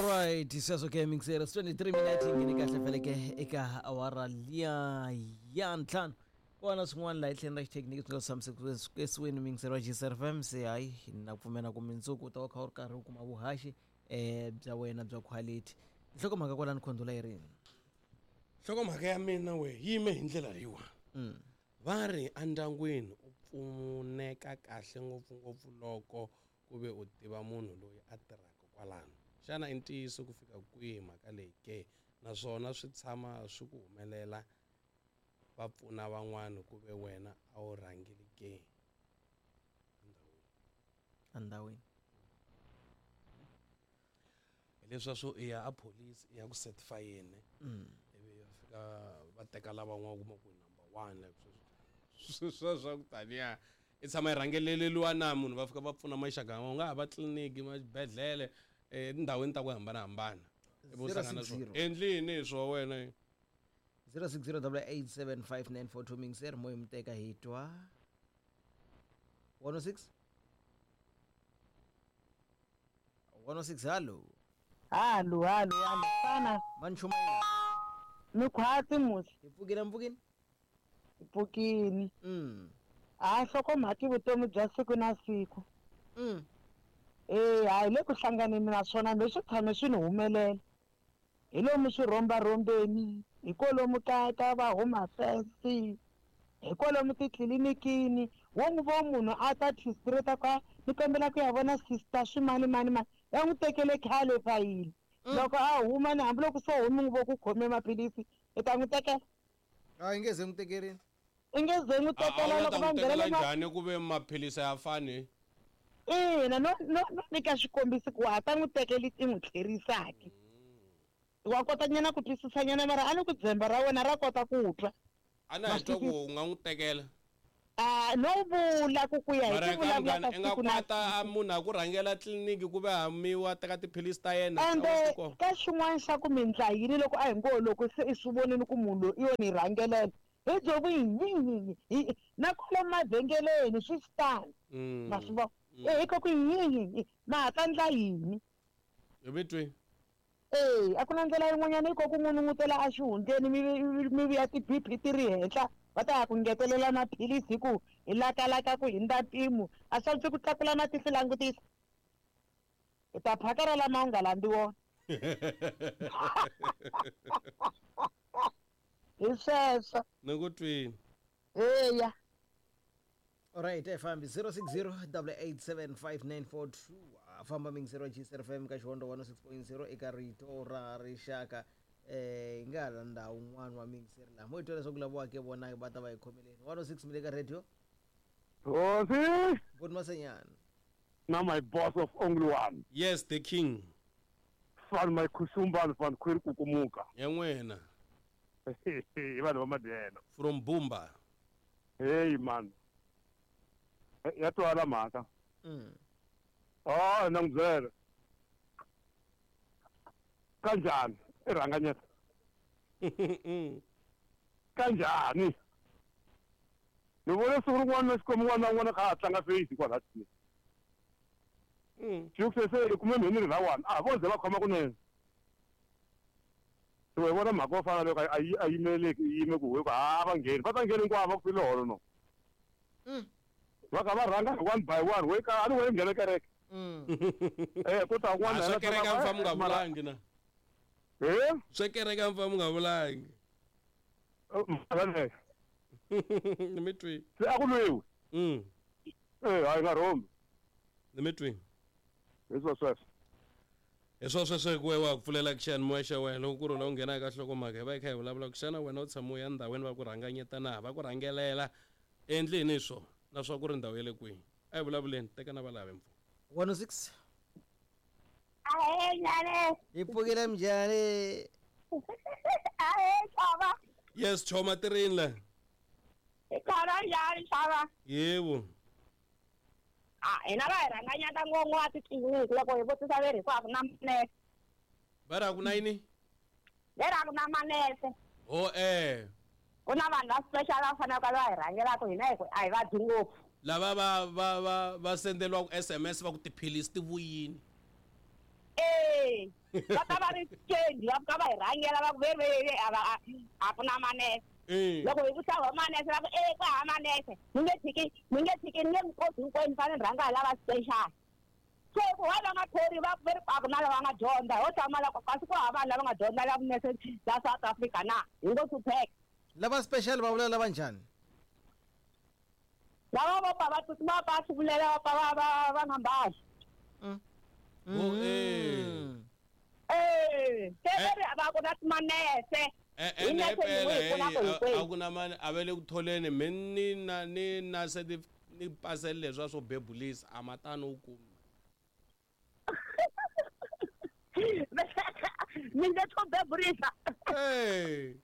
Alright, sweswo ke mixer 23 minutes yi nghene kahle vhele ke eka awara liya ya ntlhanu. Kona swin'wana laha etlheleni ra xithekiniki swi nga tshamisekisiweni mixer wa GCRFM se hayi na pfumela ku mindzuku u ta va kha u ri karhi u kuma vuhaxi bya wena bya quality. Nhlokomhaka kwalani khondula yi rini? Nhlokomhaka ya mina we yi yime hi ndlela leyiwa. Va ri endyangwini u pfuneka kahle ngopfungopfu loko ku ve u tiva munhu loyi a tirhaka kwalano. Xana i ntiyiso ku fika kwihi mhaka leyi ke? Naswona swi tshama swi ku humelela va pfuna van'wana ku ve wena a wu rhangile ke? Endhawini. Endhawini. Hi leswiya swo i ya a police i ya ku certifyeni ivi va fika va teka lavan'wana u kuma ku number one like sweswo swa swa ku taniya i tshama i rhangeleleliwa na munhu va fika va pfuna maxaka u nga ha va tliliniki maxibedhlele etindhawini ta ku hambanahambana ivi u hlangana na swona endlini hi swo wena 0608875942 mixer moya muteka hi twa 106 106 hallo. Hallo hallo hallo fana. Manchumayela. Mi khwatsi musi. Hi pfukile mpfukini. Hi pfukini. A nhlokomhaka i vutomi bya siku na siku. Eh, a hi le ku hlanganeni na swona leswi tshame swi ni humelela. Hi lomu swirhombarhombeni, hi kolomu ka ka va Home Affairs, hi kwalomu titlilinikini, wo n'wi vo munhu a ta straight a ku a ni kombela ku ya vona sister swimani mani mani, va n'wi tekele khale fayili. Loko a huma ni hambiloko se u n'wi vo ku khome maphilisi i ta n'wi tekela? A yi nge ze n'wi tekerini. I nge ze n'wi tekela loko va nghenela njhani ku ve maphilisi a ya fani? Ina, no no no nyika xikombiso ku wa ha ta n'wi tekela i n'wi tlherisaki. Wa kota nyana ku twisisa nyana mara a ni ku dzembe ra wena ra kota ku twa. A na hi twa ku u nga n'wi tekela. A no vula ku ku ya hi ku vulavula ka i nga siku na kwata a munhu a ku rhangela tliliniki ku ve hamiwa teka tiphilisi ta yena ende ka xin'wana xa ku mi ndla yini loko a hi ngo loko se i swi vonile ku munhu loyi i yo ni rhangelela hi byo ku yi hi na kwalomu mavhengeleni swi xitani ma swi vona e hi ko ku yi ma ha ta ndla yini hi vitwi Ee, a ku na ndlela yin'wanyana yi ko ku n'unun'utela exihundleni mi mi vuya ti-B_P ti ri henhla va ta ya ku ngetelela maphilisi hi ku hi lakalaka ku hundza mpimo a swi antswi ku tlakula matihlo langutisa hi ta phakela lama u nga landzi wona hi sweswo ni ku twini eya Alright, eh fambi 0608875942 famba mingisero GCRFM ka Xihondo 106.0 eka rito ra rixaka eh hi nga hala ndhawu un'wana wa mingiseri laha mo hi twa leswaku lava ke vona va ta va hi khomeleni 106 mi le ka radio Hosi Good Masenyana na my boss of only one yes the king van my khusumban van khwiri kukumuka ya n'wina hi vanhu va madyelo from Bumba hey man ya twala mhaka oh na n'wi byela kanjhani i rhanganyeta kanjhani ni vone siku rin'wana na xikwembu n'wana na n'wana kha a tlanga face kwala tliliniki xi se i kume mheni ri ra one a vo ze va khoma kunene so hi vona mhaka yo fana loko a yi a yimeleki yi yime ku ku ha va ngheni va ta nghena hinkwavo va ku file holo no va kha va rhanga hi one by one we ka a ni we nghena kereke eh ku ta un'wana swa kereke a mi fa mi nga vulangi na eh swa kereke a mi fa mi nga vulangi mhaka leyo ni mi twi se a ku lwiwi eh hayi nga rhombi ni mi twi hi swo sweswo hi swo sweswo hi ku we wa ku pfulela ku xiyanimoya xa wena loko ku ri la u nghena eka nhlokomhaka hi va hi kha hi vulavula ku xana wena u tshama u ya ndhawini va ku rhanganyeta na va ku rhangelela endli yini hi swona naswona ku ri ndhawu ya le kwihi a hi vulavuleni teka na valave mpfu 106 Ahee njhani? Hi pfukile njhani? Ahee xava. Yes choma tirini la. Hi kona njhani xava? Yebo. A hina va hi rhanganyata ngopfu a titliliniki loko hi vutisa ve ri hikuva ku na manese. Va ri a ku na yini? Ve ri a ku na manese. Ho eh. Ku na vanhu va special va faneleke va hi rhangelaka hina hi ku a hi vabyi ngopfu. Lava va va va va sendeliwaka SMS va ku tiphilisi ti vuyini. Eh. Eh. Va ta va ri change va fika va hi rhangela va ku ve ve a va a ku na manese. Loko hi vutisa va manese va ku e ku hava manese. Mi nge tshiki mi nge tshiki ni nge mi koti hinkwenu mi fanele mi rhanga hi lava special. Se ku why va nga thori va ku ve ri a ku na lava nga dyondza ho tshama la kasi ku hava vanhu lava nga dyondza la vunese la South Africa na hi ngo hlupheka. Lava special va vula lava njhani? Lava vo pfa va tsutsuma va pfa va hluvulela va pfa va va va nga mbali. Oh, eh. Eh, se va ri va ku na timanese. Eh, Hi ene nese phela yin'we hi pfunaka heyi, hinkwenu. a ku na mani a va le ku tholeni me ni na ni na ni pasele leswiya swo bebulisa a ma tani u kumi. Mi nge swo bebulisa. Eh.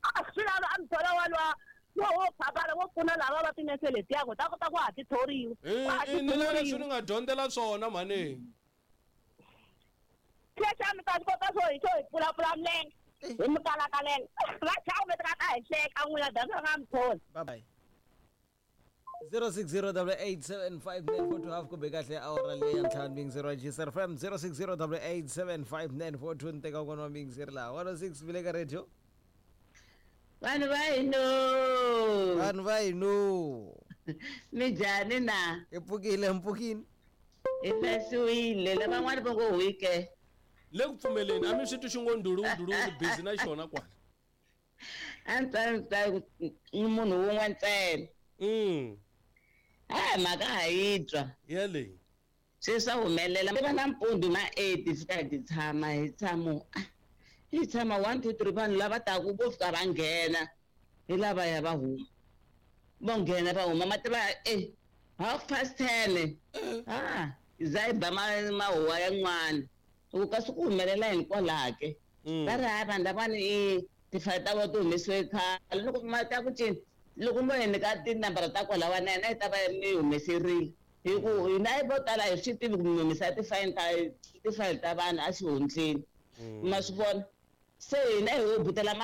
A swi lava a mi thola walowa wo wo phamana wo pfuna lava va tinese letiya ku ta kota ku ha ti thoriwa. Eh, Ku ha ti eh, ni na leswi thoriwa. ni nga dyondzela swona mhani. Sweswi a mi ta swi kota swo hi swo hi pfulapfula milenge hi mi kalakalela. Va chava mi ta ta hi hleka n'wina data nga mi tholi. Bye bye. 0608875942 half kumbe kahle awara leyi ya ntlhanu miyingiseri wa GCR FM 0608875942 ni teka un'wana wa miyingiseri laha 106 mi le ka radio. Vanhu va hino. Vanhu va hino. Mi njhani na? Hi pfukile hi mpfukini. Hi fasiwile lavan'wana va ngo huike. Le ku pfumeleni a mi swi twi xi ngo ndulu ndulu ni busy na xona kwala. A ni ta ni ta ni munhu wun'we ntsena. Hayi mhaka ha yi twa. Ya leyi. Swi swa humelela. Mi va nampundzu ma 8 fika hi tshama hi tshamo. Hi tshama 1 2 3 vanhu lava taku vo fika va nghena hi lava ya va huma. Vo nghena va huma ma tiva 10:30. Ah, za hi ba mahuwa yan'wana. Ku kasi ku humelela hinkwalaho ke. Va ri hayi vanhu lavawani i tifayili ta vona ti humesiwe khale loko ma ta ku cini loko mo hi nyika tinambara ta kwalawa na hina hi ta va mi humeserile hi ku hina vo tala hi swi tivi ku mi humesa tifayili ta tifayili ta vanhu a xihundleni ma swi vona se hina hi ho butela.